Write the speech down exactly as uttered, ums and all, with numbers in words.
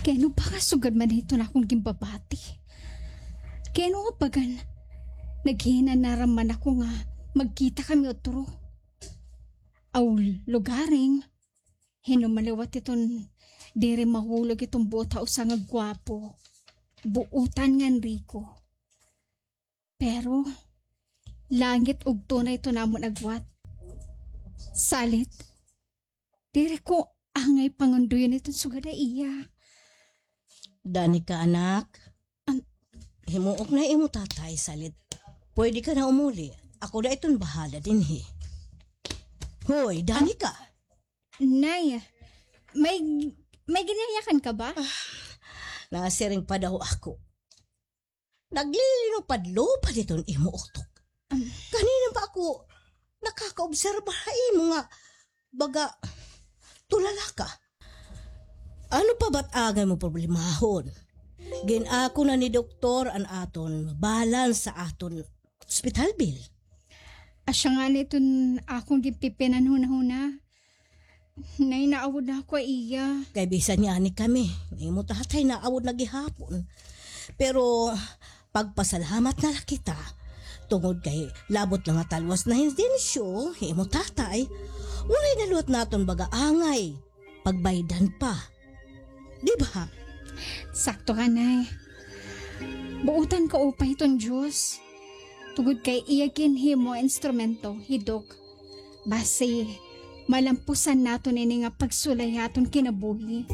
Kay ano ba nga sugad man iton akon ginpabati? Kay ano nga bagan naghinanara man ako nga magkita kami utro? Aw, lugaring, hin-o man liwat iton diri mahulog iton buot ha usa nga gwapo, buotan ngan riko. Pero langit ugto na iton amon agwat. Salit, diri ko angay pangundoyon iton sugad ha iya. Danica, anak. Himuok na imo tatay, salit. Pwede ka na umuli. Ako na iton bahala dinhi. Hoy, Danica. Nay, may, may ginyayakan ka ba? Nasiring pa daw ako. Naglilingupad-lupad iton imo utok. Ganina pa ako nakakaobserba ha imo nga baga tulala ka. Ano pa ba't angay mo problemahon? Gin-ako na ni doktor an aton balance sa aton hospital bill. Asya ngani iton akon ginpipinanhunahuna. Nay, naawod na ako ha iya. Kay bisan ngani kami, imo tatay naawod na gihapon. Pero pagpasalamat na la kita, tungod kay labot na nga talwas na hin densyo, imo tatay, waray na liwat naton baga angay pagbaydan pa. Di ba? Sakto ka, Nay. Buotan ka upay iton Diyos. Tungod kay iya ginhimo instrumento hi Doc. Basi, malampusan naton ini nga pagsulay ha aton kinabuhi.